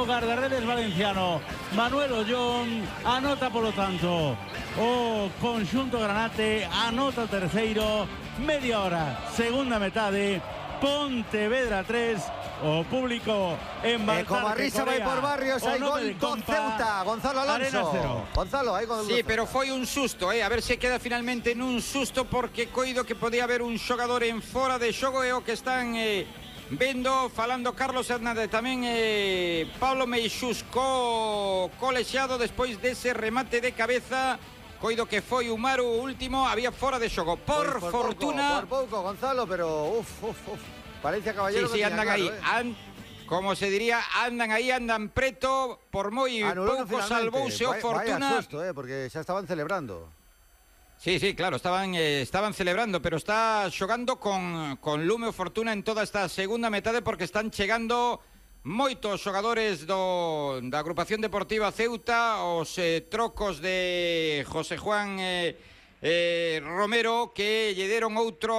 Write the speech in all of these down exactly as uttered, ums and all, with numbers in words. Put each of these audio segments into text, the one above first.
guardaredes valenciano Manuel Ollón anota polo tanto o conxunto granate, anota o terceiro, media hora, segunda metade, Pontevedra tres, o público en Baltar, eh, como a risa vai por Barrios, hai gol do Ceuta, Gonzalo Alonso. Gonzalo, hai gol. Sí, pero foi un susto, eh, a ver se queda finalmente nun susto, porque coido que podía haber un xogador en fora de xogo, e o que están eh, vendo, falando Carlos Hernández, tamén eh, Pablo Meixús co colexiado despois dese remate de cabeza. Coido que foi Umaru o último, había fora de xogo. Por, por fortuna... Pouco, por pouco, Gonzalo, pero uf, uf, uf. Valencia Caballero. Sí, sí, andan claro, aí. Eh. And, como se diría, andan aí, andan preto. Por moi pouco salvouse o Fortuna. Vaya susto, eh, porque xa estaban celebrando. Sí, sí, claro, estaban eh, estaban celebrando, pero está xogando con, con lume o Fortuna en toda esta segunda metade, porque están chegando moitos xogadores do, da agrupación deportiva Ceuta, os eh, trocos de José Juan eh, eh, Romero, que lle deron outro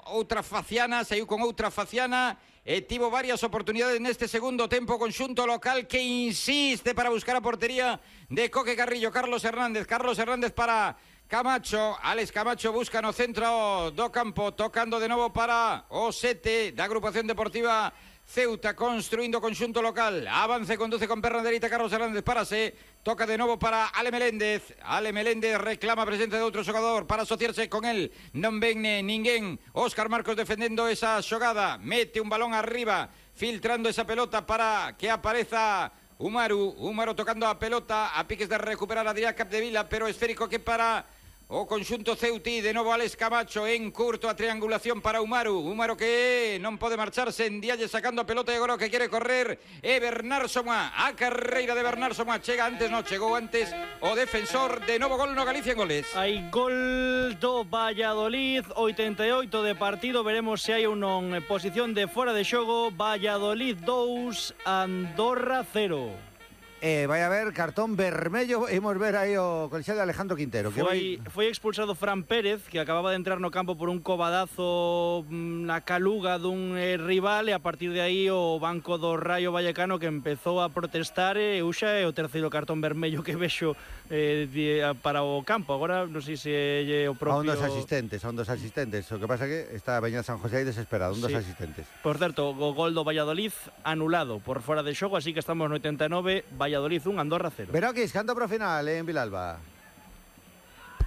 outra faciana, saiu con outra faciana e tivo varias oportunidades neste segundo tempo. Conxunto local que insiste para buscar a portería de Coque Carrillo. Carlos Hernández, Carlos Hernández para Camacho, Alex Camacho busca no centro do campo, tocando de novo para o sete da agrupación deportiva Ceuta, construindo conxunto local. Avance, conduce con perna dereita Carlos Hernández, párase, toca de novo para Ale Meléndez. Ale Meléndez reclama a presencia de outro xogador para asociarse con él. Non ven ninguén. Óscar Marcos defendendo esa xogada, mete un balón arriba, filtrando esa pelota para que apareza Umaru. Umaru tocando a pelota, a piques de recuperar a Adrià Capdevila, pero esférico que para o conxunto Ceutí. De novo Alex Camacho en curto, a triangulación para Umaru. Umaru que non pode marcharse, en Dialle sacando a pelota, e agora o que quere correr é Bernard Somá. A carreira de Bernard Somá, chega antes, non chegou antes o defensor. De novo gol no Galicia en goles. Hai gol do Valladolid, oitenta e oito de partido. Veremos se hai un non posición de fora de xogo. Valladolid dous, Andorra cero. Eh, vai a haber cartón vermello. Imos ver aí o colexiado de Alejandro Quintero. Foi, vai... foi expulsado Fran Pérez, que acababa de entrar no campo por un cobadazo na caluga dun eh, rival, e a partir de aí o banco do Rayo Vallecano que empezou a protestar, e eh, uxa é o terceiro cartón vermello que vexo eh, de, para o campo. Agora non sei se é o propio... A un dos asistentes, a un dos asistentes. O que pasa que está a Beñat San José aí desesperado, un dos sí. asistentes. Por certo, o gol do Valladolid anulado por fora de xogo, así que estamos no oitenta e nove, Valladolid un, Andorra cero. Veroquis, canto pro final eh, en Vilalba.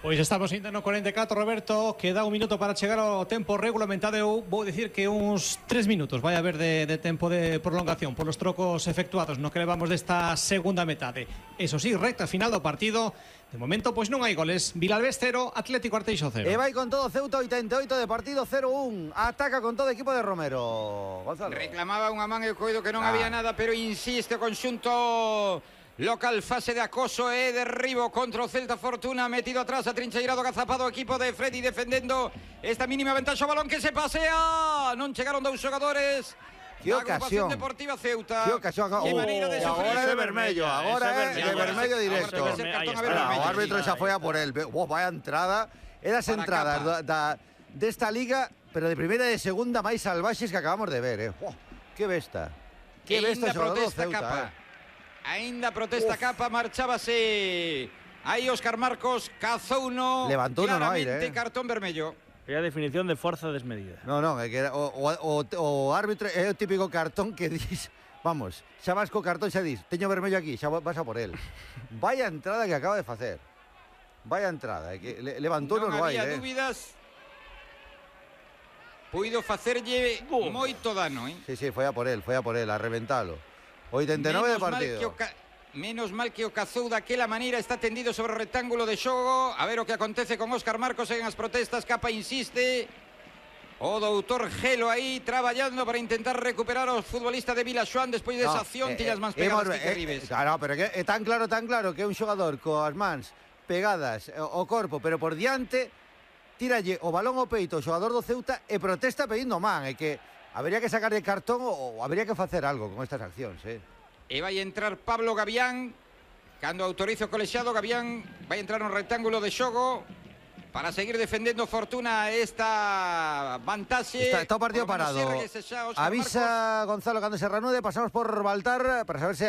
Pois estamos ainda no cuarenta e catro, Roberto, queda un minuto para chegar ao tempo regulamentado. Eu vou dicir que uns tres minutos vai haber de, de tempo de prolongación polos trocos efectuados no que levamos desta segunda metade. Eso sí, recta final do partido. De momento, pois non hai goles. Vilalbés cero, Atlético Arteixo cero. E vai con todo Ceuta, oitenta e oito de partido, cero un. Ataca con todo o equipo de Romero. Gonzalo. Reclamaba unha man e coido que non ah. había nada, pero insiste o conxunto local. Fase de acoso e derribo contra o Celta. Fortuna metido atrás, atrincheirado, agazapado o equipo de Freddy defendendo esta mínima ventaxa. O balón que se pasea, non chegaron dous xogadores. Que ocasión Deportiva Ceuta. Que ocasión. Que maneira de oh, agora de vermello, agora é de vermello directo. O árbitro xa foi a por el. Oh, vaya entrada. É das entradas da, desta liga, pero de primeira e de segunda máis salvaxes que acabamos de ver, eh. Oh, que besta. Que besta xogador do Ceuta, eh. Ainda protesta Capa, marchábase aí Óscar Marcos, cazouno levantou no aire, eh. cartón vermello. É a definición de forza desmedida. Non, non, é que era, o, o, o árbitro é o típico cartón que dis, vamos, xa vas co cartón, xa dis, teño vermello aquí, xa vas a por él. Vaya entrada que acaba de facer. Vaya entrada, é que le, levantou no aire. Non había dúbidas. Puido facerlle oh. moito dano, eh. Sí, sí, foi a por él, foi a por él, a reventalo. oitenta e nove de partido. Menos mal que o cazou daquela maneira, está tendido sobre o rectángulo de xogo. A ver o que acontece con Óscar Marcos en as protestas. Capa insiste. O doutor Gelo aí traballando para intentar recuperar o futbolista de Vilaxoán despois desa no, acción. Eh, tiñas mans pegadas eh, que Ribes. Eh, claro, pero que é tan claro, tan claro que é un xogador coas mans pegadas ao corpo, pero por diante, tíralle o balón ao peito o xogador do Ceuta e protesta pedindo man. É que habría que sacar de cartón ou habría que facer algo con estas accións, eh. E vai entrar Pablo Gavián. Cando autoriza o colexiado, Gavián vai entrar no rectángulo de xogo para seguir defendendo Fortuna esta vantaxe. Está, está o partido parado. Avisa Marcos. Gonzalo cando se reanude. Pasamos por Baltar para saber se